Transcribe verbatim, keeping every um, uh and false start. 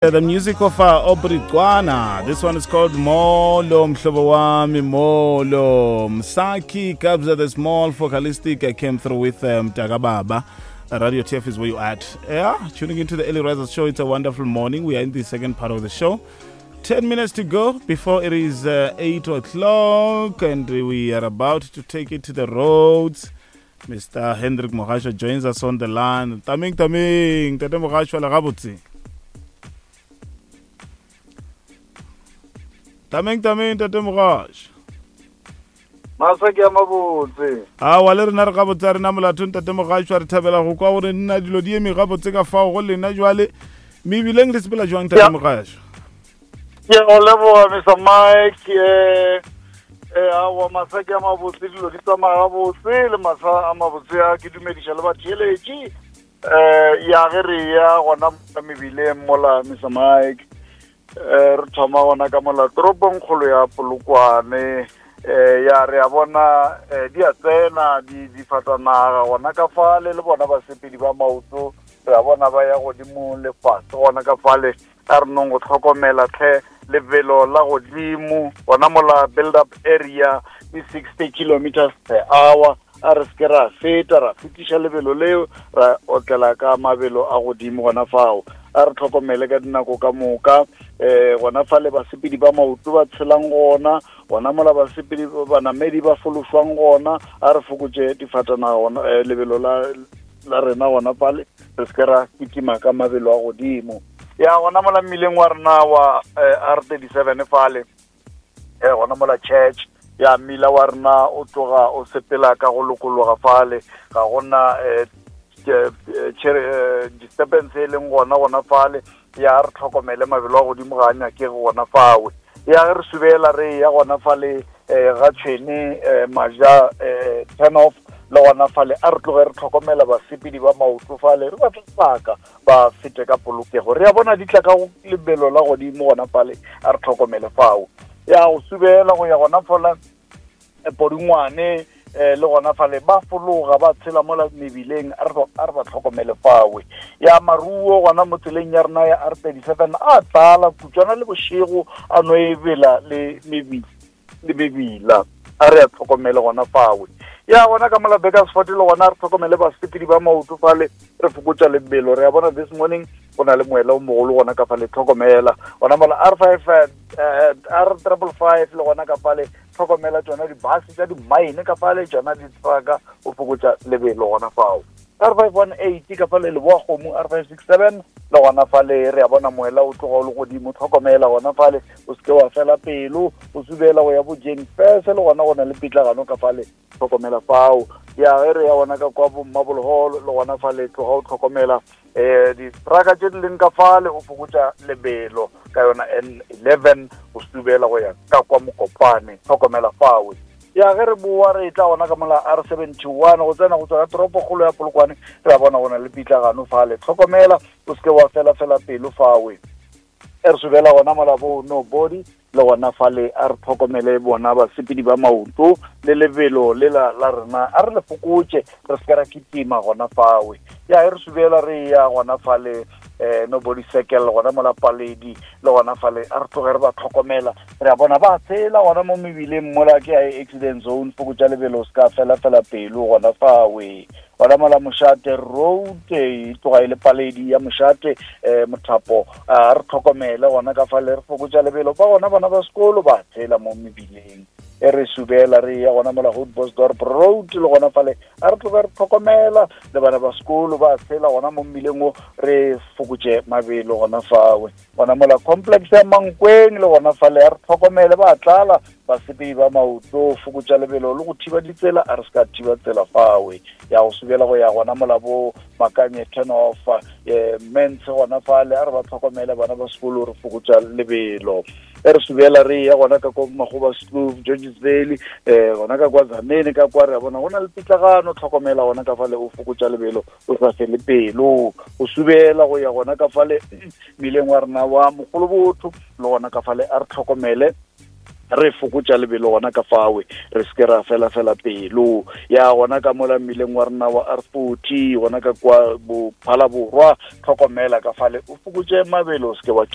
The music of uh, Aubrey Qwana. This one is called Molo Mhlobo Wami Molo. Msaki Kabza the Small Focalistic uh, came through with um, Tagababa. Uh, Radio T F is where you at. Yeah, tuning into the Early Risers Show. It's a wonderful morning. We are in the second part of the show. ten minutes to go before it is uh, eight o'clock, and we are about to take it to the roads. Mister Hendrik Mogashoa joins us on the line. Taming, taming. Tate Mogashoa, le gabotse. Tameng tameng tate Mogashoa. Masa ke a mabotse. A wa le rena re gabotse re na molato ntate Mogashoa, re thabela go kwa gore nna dilo di eme gabotse ka fao go lena jwale. Mebileng le sepela jwang tate Mogashoa? Ke go leboga Mister Mike, eh eh awa masa ke a mabotse, dilo di tsamaya gabotse le masa a mabotse a ke dumediša le batheeletši. Eh ya ge re ya gona mebileng mola Mister Mike. Eh re thoma gona ka mola toropong kgolo ya Polokwane, eh ya re a bona di a tsena di difatanaga gona ka fale le bona basepedi ba maoto, re a bona ba ya godimo le fase gona ka fale. A re nong go tlhokomela tlhe lebelo la godimo gona mola build up area ke sixty kilometers per hour. A re se ra feta ra fetiša lebelo leo ra otlela ka mabelo a godimo gona fao. A re tlhokomele ka dinako ka moka, eh gona fale basepedi ba maoto ba tshelang gona, gona mola basepedi banamedi ba fološwang gona. A re fokotše difatanaga gona lebelo la la rena gona fale, re se ra kitima ka mabelo a godimo. Ya gona mola mmileng wa rena wa R thirty-seven fale, eh gona mola church ya mmila wa rena o tloga o sepela ka go lokologa fale, ga gona eh disturbance e leng gona gona fale. Ya re tlhokomele mabelo a godimo ga a nyakege gona fawe. Ya ge re subela re ya gona fale ga tshwene maja turn off le gona fale, a re tloge re tlhokomela basepedi ba maoto fale, re ba fe sebaka ba fete ka polokego. Re a bona di tla ka lebelo la godimo gona fale, a re tlhokomele fao. Ya go subela go ya gona fola Podungwane le gona fale ba fologa ba tshela mola mebileng, a re ba tlhokomele fawe. Ya maruo gona mo tseleng ya rena ya R thirty-seven a tlala kutswana le bošego a no e bela le mebila le mebila, a re a tlhokomele gona fawe. Ya gona ka mola Bakersford le gona re tlhokomele basepedi ba maoto fale, re fokotša lebelo. Re a bona this morning go na le moela o mogolo gona ka fale, tlhokomela gona mola R five R triple five le gona ka fale, tlhokomela tsona di-bus tša di-mine ka fale, tsona di-trucka, o fokotša lebelo gona fao. R five one eight ka fale leboa kgomo, R five six seven le gona fale re a bona moela o tloga o le godimo, tlhokomela gona fale, o seke wa fela pelo, o subela go ya bo Jane Fese le gona go na le pitlagano ka fale, tlhokomela fao. Ya ge re ya gona ka kwa bo Marble Hall le gona fale, tloga o tlhokomela eh di-trucka tše di leng ka fale, o fokotša lebelo ka yona N eleven o subela go ya ka kwa Mokopane, tlhokomela fawe. Ya ge re boa re tla gona ka mola R seventy-one go tsena go tswa ka toropokgolo ya Polokwane, re a bona go na le pitlagano fale, tlhokomela o seke wa fela fela pelo fawe. E re subela gona mola bo Nobody le gona fale, a re tlhokomele bona basepedi ba maoto le lebelo le la la rena a re le fokotše, re se ra kitima gona fawe. Ya e re subela re ya gona fale eh Nobody Circle gona mola Paledi le gona fale, a re tloge re ba tlhokomela. Re a bona ba tshela gona mo mebileng mola ke ya accident zone, fokotša lebelo se ka fela fela pelo gona fawe. Gona mola Moshate Road e tloga e le Paledi ya Moshate eh Mothapo, a re tlhokomele gona ka fale, re fokotša lebelo ba gona bana ba sekolo ba tshela mo mebileng. E re subela re ya gona mola Hoedbosdorp Road le gona fale, a re tloge re tlhokomela le bana ba sekolo ba tshela gona mo mmileng o, re fokotše mabelo gona fawe. Gona mola complex ya Mankweng le gona fale, a re tlhokomele ba tlala basepedi ba maoto, fokotša lebelo le go thiba ditsela, a re se ka thiba tsela fawe. Ya go subela go ya gona mola bo Makanye turn off eh Mense gona fale, a re ba tlhokomele bana ba sekolo, re fokotša lebelo. E re subela re ya gona ka kwa Magoba Kloof, Georges Valley, eh gona ka kwa Zamene ka kwa re a bona go na le pitlagano, tlhokomela gona ka fale, o fokotša lebelo o sa fele pelo. O subela go ya gona ka fale mmileng wa rena wa Mogolobotho le gona ka fale, a re tlhokomele Re fokotša lebelo gona ka fawe, re se ke ra fela fela pelo. Ya gona ka mola mmileng wa rena wa R forty, gona ka kwa Bophalaborwa, tlhokomela ka fale, o fokotše mabelo, o se ke wa